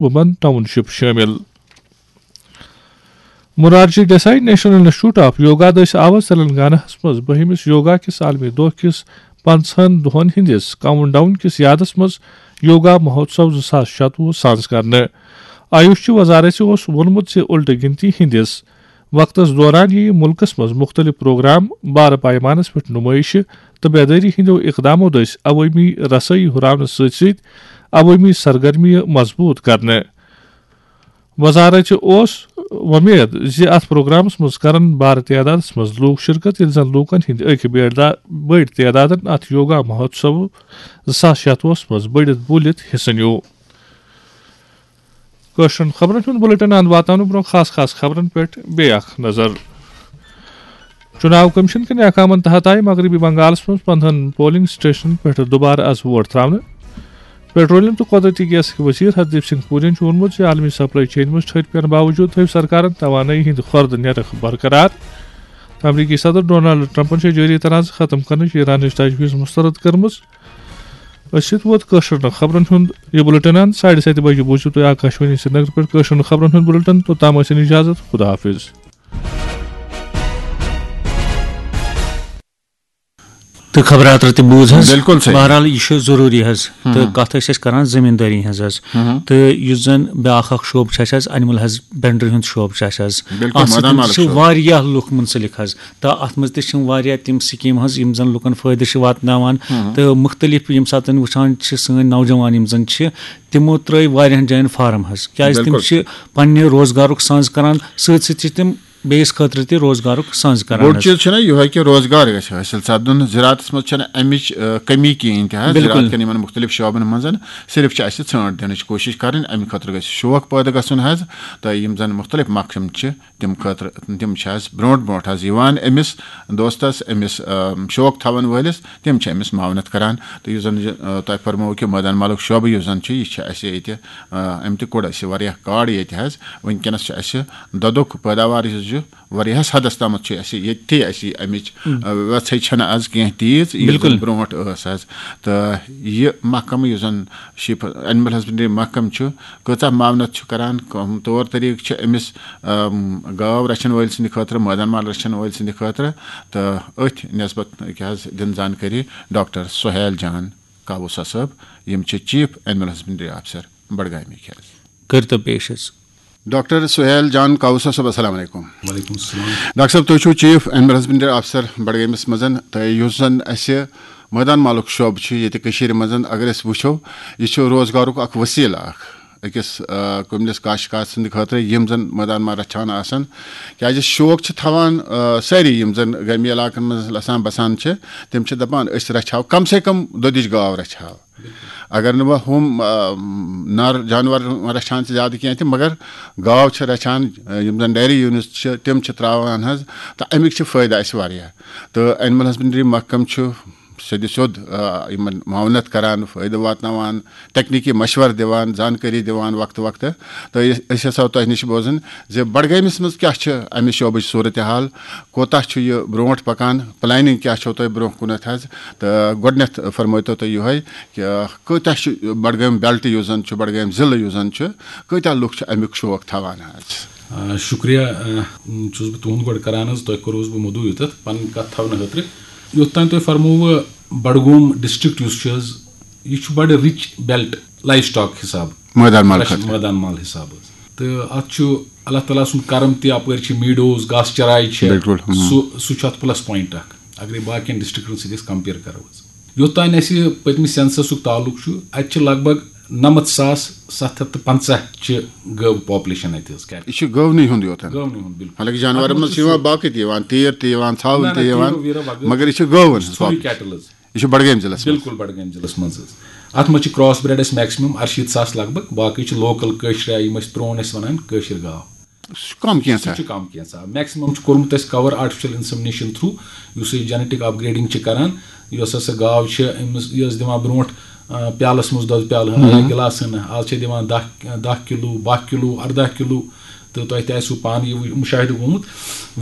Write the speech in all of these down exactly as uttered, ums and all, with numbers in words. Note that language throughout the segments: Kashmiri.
وومن ٹاؤن شپ شٲمِل۔ Morarji Desai national institute of yoga دٔسۍ آو تلنگانہ ہَس منٛز بٔہمِس یوگا کِس عالمی دۄہ کِس پنٛژاہن دۄہن ہٕنٛدِس کاؤنٹ ڈاؤن کِس یادس منٛز یوگا مہوتسو زٕ ساس شتوُہ سانز کرنہٕ۔ آیوش چہِ وزارت اوس ووٚنمُت زِ الٹہٕ گنتی ہٕنٛدِس وقتس دوران یِیہِ مُلکس منٛز مُختٔلِف پروگرام بارٕ پیمانس پٮ۪ٹھ نُمٲیشہِ تہٕ بیدٲری ہٕنٛدیو اقدامو دٔسۍ عوٲمی رسٲیی ہُراونہٕ سۭتۍ سۭتۍ عوٲمی سرگرمیہِ مضبوٗط کرنہٕ۔ وزارت اوس وۄمید زِ اتھ پروگرامس منٛز کرن بارٕ تعدادس منٛز لوٗکھ شرکت، ییٚلہِ زن لوٗکن ہٕنٛدۍ أکۍ بٔڑۍ دا-، بٔڑۍ تعدادن اتھ یوگا مہوتسو زٕ ساس شتوُہس منٛز بٔڑِتھ بوٗلِتھ حصہٕ نیوٗ۔ کٲشرٮ۪ن خبرن ہُنٛد بُلٹن اند واتنہٕ برٛونٛہہ خاص خاص خبرن پٮ۪ٹھ بیٚیہِ اکھ نظر۔ چُناو کمیشن کٮ۪ن احکامن تحت آیہِ مغربی بنگالس منٛز پندہن پولنگ سٹیشنن پٮ۪ٹھ دُبارٕ از ووٹ تراونہٕ۔ پیٹرولیم تہٕ قۄدرٔتی گیسٕکۍ وزیر ہردیپ سنگھ پورین چھُ ووٚنمُت زِ عالمی سپلائی چین منٛز ٹھٔہر پینہٕ باوجود تھٲوِ سرکارن توانٲیی ہٕنٛدۍ خۄردٕ نرخ برقرار۔ امریکی صدر ڈونالڈ ٹرمپن چھےٚ جٲری تنازٕ ختم کرنٕچ ایرانٕچ تجویز مسترد کٔرمٕژ۔ أسۍ سۭتۍ ووت کٲشرٮ۪ن خبرن ہُنٛد یہِ بُلٹن اند۔ ساڑِ ستہِ بجہِ بوٗزِو تُہۍ آکاشوانی سرینگر پٮ۪ٹھ کٲشرٮ۪ن خبرن ہُنٛد بُلٹن۔ توٚتام ٲسِن اجازت۔ خدا حافظ۔ تہٕ خبرات تہِ بوٗز حظ۔ بِلکُل صحیح۔ بہرحال، یہِ چھُ ضروٗری حظ۔ تہٕ کَتھ ٲسۍ أسۍ کران زٔمیٖندٲری ہٕنٛز حظ۔ تہٕ یُس زَن بیٛاکھ اکھ شعبہٕ چھُ اَسہِ حظ، animal husbandry ہُنٛد شعبہٕ چھُ اَسہِ حظ۔ بِلکُل، اَتھ سۭتۍ مٲدان مالُک چھِ شعبہٕ۔ واریاہ لُکھ مُنسلِک حظ۔ تہٕ اَتھ منٛز تہِ چھِ واریاہ تِم سکیٖم حظ، یِم زَن لُکَن فٲیدٕ چھِ واتناوان۔ تہٕ مُختٔلِف ییٚمہِ ساتہٕ وٕچھان چھِ سٲنۍ نوجوان یِم زَن چھِ، تِمو ترٛٲے واریاہَن جایَن فارم حظ، کیٛازِ تِم بِلکُل۔ چھِ پنٛنہِ روزگارُک سَنٛز کران، سۭتۍ سۭتۍ چھِ تِم بیٚیِس خٲطرٕ تہِ روزگارُک سَنٛز کران بوٚڑ حظ۔ چیٖز چھُنہ یِہوٚے کہِ روزگار گژھِ حٲصِل سپدُن۔ زِراعتس منٛز چھَنہٕ اَمِچ، آ، کٔمی کِہیٖنۍ تہِ حظ۔ بِلکُل۔ زِراعت کٮ۪ن یِمن مُختٔلِف شعبن منٛز صرف چھِ اَسہِ ژھانٛٹ دِنٕچ کوٗشِش کَرٕنۍ، اَمہِ خٲطرٕ گژھِ شوق پٲدٕ گژھُن حظ۔ تہٕ یِم زَن مُختٔلِف محکمہٕ چھِ، تِم خٲطرٕ، تِم چھِ حظ برونٛٹھ برونٛٹھ حظ یِوان أمِس دوستس، أمِس، آ، شوق تھاوَن وٲلِس، تِم چھِ أمِس معاونت کران۔ تہٕ یُس زَن یہِ، آ، تۄہہِ فرمووُ کہِ مٲدان مالُک شعبہٕ یُس زَن چھُ، یہِ چھِ اَسہِ ییٚتہِ، آ، اَمہِ تہِ کوٚڑ اَسہِ واریاہ کارڈ ییٚتہِ حظ۔ وٕنکیٚنَس چھِ اَسہِ دۄدُک پٲداوار یُس چھُ، واریاہَس حدَس تامَتھ چھُ اَسہِ ییٚتہِ تہِ اَسہِ یہِ اَمِچ، آ، وٮ۪ژھٕے چھَنہٕ آز کینٛہہ تیٖژ، یُس زَن بِلکُل۔ برونٛٹھ ٲس حظ۔ تہٕ یہِ محکمہٕ یُس زَن شیٖپ، animal husbandry محکمہٕ چھُ، کۭژاہ معاونت چھُ کران، کٕم طور طریٖقہٕ چھِ أمِس، آم، گاو رَچھَن وٲلۍ سٕنٛدِ خٲطرٕ، مٲدان مال رَچھَن وٲلۍ سٕنٛدِ خٲطرٕ، تہٕ أتھۍ نسبت کیٛاہ حظ دِن زانکٲری ڈاکٹر سہیل جان کاووسا صٲب، یِم چھِ Chief Animal Husbandry Officer بڈگامِکۍ حظ۔ کٔرۍ تو پیش حظ۔ ڈاکٹر سہیل جان کاووسا صٲب، السلام علیکم۔ وعلیکم السلام۔ ڈاکٹر صٲب، تُہۍ چھِو Chief Animal Husbandry Officer بڈگٲمِس منٛز، تہٕ یُس زَن اَسہِ مٲدان مالُک شعبہٕ چھُ ییٚتہِ کٔشیٖرِ منٛز، اگر أسۍ وٕچھو، یہِ چھُ روزگارُک اکھ وسیٖلہٕ اکھ أکِس، آ، کُملِس کاشتکار سٕنٛدِ خٲطرٕ، یِم زَن مٲدان مال رَچھان آسَن، کیٛازِ شوق چھِ تھاوان، آ، سٲری یِم زَن گٲمی علاقَن منٛز آسان بَسان چھِ، تِم چھِ دَپان أسۍ رَچھہاو کم سے کم دۄدٕچ گاو رَچھہاو۔ اگر نہٕ وۄنۍ ہُم، آ، نر جانور رَچھان چھِ زیادٕ کینٛہہ تہِ، مگر گاو چھِ رَچھان، آ، یِم زَن dairy units چھِ، تِم چھِ ترٛاوان حظ، تہٕ اَمِکۍ چھِ فٲیدٕ اَسہِ واریاہ۔ تہٕ Animal Husbandry محکمہٕ چھُ سیوٚدِ سیوٚد، آ، یِمَن معاونت کران، فٲیدٕ واتناوان، تکنیٖکی مشورٕ دِوان، زانکٲری دِوان وقتہٕ وقتہٕ۔ تہٕ یہِ، أسۍ یَژھو تۄہہِ نِش بوزٕنۍ زِ بڈگٲمِس منٛز کیٛاہ چھِ اَمہِ شعبٕچ صوٗرتِ حال، کوٗتاہ چھُ یہِ برونٛٹھ پَکان، planning کیٛاہ چھو تۄہہِ برونٛہہ کُنَتھ حظ؟ تہٕ گۄڈٕنٮ۪تھ فرمٲیتو تُہۍ یِہوٚے کہِ کۭتیٛاہ چھُ بڈگٲمۍ belt یُس زَن چھُ، بڈگٲمۍ ضلعہٕ یُس زَن چھُ، کۭتیٛاہ لُکھ چھِ اَمیُک شوق تھاوان حظ؟ آ، شُکریہ، آ، چھُس بہٕ تُہُنٛد گۄڈٕ کران حظ، تۄہہِ کوٚروُس بہٕ مدعو یوٚتَتھ پَنٕنۍ کَتھ تھاونہٕ خٲطرٕ۔ یوٚت تام تۄہہِ فرمووٕ، بڈگوم district یُس چھُ حظ، یہِ چھُ بڑٕ rich belt livestock حساب۔ مٲدان مال پرٛش-، خٲطرٕ۔ مٲدان مال حساب حظ۔ تہٕ اَتھ چھُ اللہ تعالیٰ سُنٛد کرم تہِ، اَپٲرۍ چھِ meadows، گاسہٕ چراے چھِ۔ بِلکُل، ہُم۔ سُہ، سُہ چھُ اَتھ plus point اکھ۔ اگرے باقین districtن سۭتۍ أسۍ compare کرو حظ۔ یوٚت تام اَسہِ پٔتمہِ censusُک تعلق چھُ، اَتہِ چھِ لگ بگ نَمَتھ ساس ستھ ہَتھ تہٕ پنٛژاہ چھِ گٲو population اَتہِ حظ، cattle۔ یہِ چھُ گٲونٕے ہُنٛد یوت۔ گٲونٕے ہُنٛد، بِلکُل۔ حالانکہِ جانورن اَتھ منٛز منٛز چھِ چھِ یِوان سورُے۔ باقٕے تہِ یِوان، تیٖر تہِ یِوان، ژھاوٕلۍ نہ، نہ، تہِ یِوان، تیٖر ویٖر وغٲرٕ مگر یہِ چھِ گٲوَن ہٕنٛز سورُے population۔ Cattle حظ۔ یہِ چھُ بڈگٲمۍ ضلعس منٛز۔ بِلکُل بڈگٲمۍ ضلعس منٛز حظ۔ اَتھ منٛز چھِ cross bred اَسہِ maximum اَرشیٖتھ ساس لگ بگ، باقٕے چھِ local کٲشرِ آیہِ یِم أسۍ پرٛون ٲسۍ وَنان کٲشِر گاو۔ سُہ چھُ کم کینٛژھا۔ سُہ چھُ کم کینٛژھا۔ Maximum چھُ کوٚرمُت اَسہِ cover artificial insemination through، یُس أسۍ genetic upgrading چھِ کران، یۄس ہسا گاو چھِ أمِس، یہِ ٲس دِوان برونٛٹھ، آ، پیالَس منٛز دۄدٕ پیالہٕ ہنا یا گِلاسہٕ ہنا، آز چھِ دِوان دَہ، دَہ کِلوٗ، باہ کِلوٗ، اَرداہ کِلوٗ۔ تہٕ تۄہہِ تہِ آسِوٕ پانہٕ یہِ مُشاہدٕ گوٚمُت،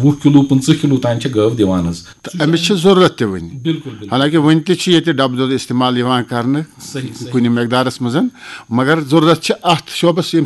وُہ کِلوٗ، پٕنٛژٕہ کِلوٗ تام چھِ گٲو دِوان حظ۔ تہٕ أمِس چھِ ضروٗرت تہِ وٕنہِ۔ بِلکُل، بِلکُل۔ حالانکہِ وٕنہِ تہِ چھِ ییٚتہِ ڈَبہٕ دۄد استعمال یِوان کرنہٕ، صحیح، صحیح۔ کُنہِ مقدارَس منٛز، مگر ضروٗرت چھِ اَتھ شعبَس، ییٚمہِ